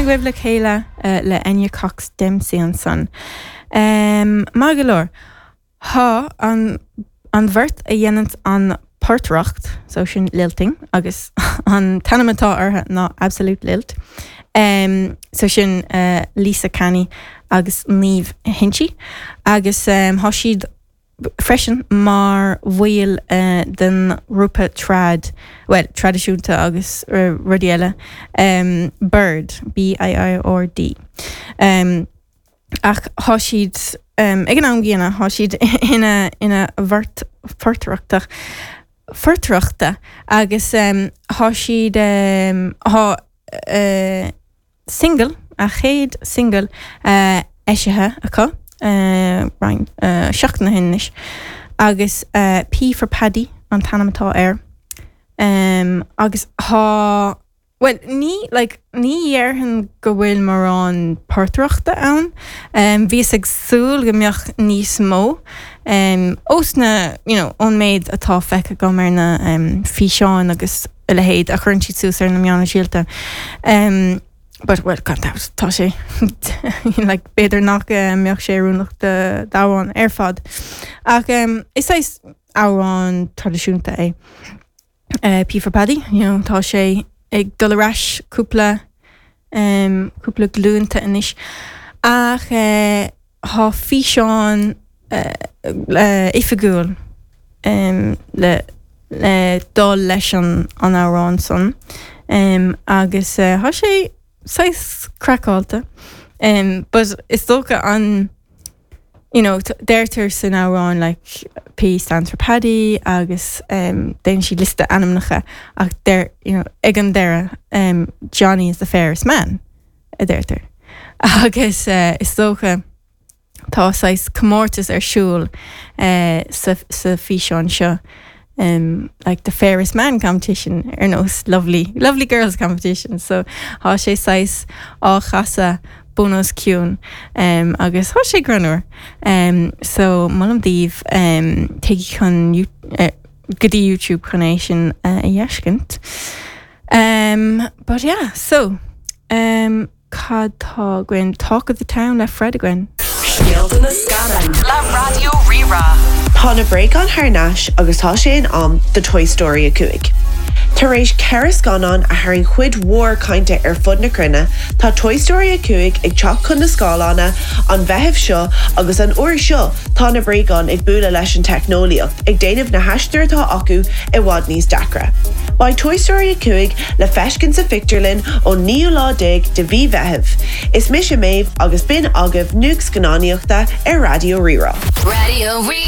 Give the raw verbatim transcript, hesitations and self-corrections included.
Agaibh le chéile uh, le Enya Cox Dempsey ansan. Um, Maith go leor. Tá an an bheirt a dhéanann an portaireacht so sin lilting agus an t-ainm atá orthu ná Absolute Lilt. Um, so sin uh, Lisa Canny agus Niamh Hinchy agus um, tá siad freisin mar bhaill uh, den ghrúpa trad well traidisiúnta agus uh, rudaí eile um, Bird B I I R D. Um, ach tá siad um, ag an am gcéanna tá siad ina ina bheirt phortaireachta phortaireachta agus um, tá siad um, tá uh, single a chéad single uh, eisithe acu uh, roinnt uh, seachtain ó shin anois agus uh, P for Paddy an t-ainm atá air um, agus tá Well ní like, ní dhéarfainn go bhfuil mórán portaireachta ann um, Bhíos ag súil go mbeadh níos mó um, ós na you know, ón méid atá feicthe agam ar na um, físeáin agus a leithéid a chuireann siad suas ar na meáin shóisialta. Um, but well gan dabht tá sé like, b'fhéidir nach uh, mbeadh sé oiriúnach d'amhrán ar fad. Ach um, is é amhrán traidisiúnta é. Uh, P for Paddy, you know, tá sé ag dul ar ais cúpla um, cúpla glúnta anois ach uh, tá físeán uh, uh, oifigiúil um, le le dul leis an an amhrán san um, agus uh, tá sé saghas craiceáilte um, but is dócha an you know, deirtear san amhrán like P stands for Paddy agus um, déanann siad liosta ainmneacha ach der you know, ag an deireadh um, Johnny is the fairest man a deirtear. Agus uh, is dócha tá saghas comórtas ar siúl uh, sa, sa físeán seo. Um, like the fairest man competition ar nós lovely lovely girls competition so tá sé saghas á chasadh bun os cionn um, agus tá sé greannmhar um, so molaim daoibh um, téigí chun uh, go dtí YouTube chun é sin uh, a fheiscint. Um, but yeah, so um, cad tá againn Talk of the Town le Fred againn. Scéalta na scannán le Raidió Rí-Rá. Tá na bréagáin thar n-ais agus tá sé in am do Toy Story a cúig. Tar éis ceithre scannán a tharraing cuid mhór cainte ar fud na cruinne, tá Toy Story a cúig ag teacht chun na scáileáin an Meitheamh seo agus an uair seo tá na bréagáin ag bualadh leis an teicneolaíocht ag déanamh na haistear atá acu i bhfad níos deacra. Beidh Toy Story a cúig le feiscint sa phictiúrlann ón naoú lá déag de mhí Mheithimh. Is mise Méabh agus b'in agaibh nuacht scannánaíochta ar Raidió Rí-Rá. Raidió Rí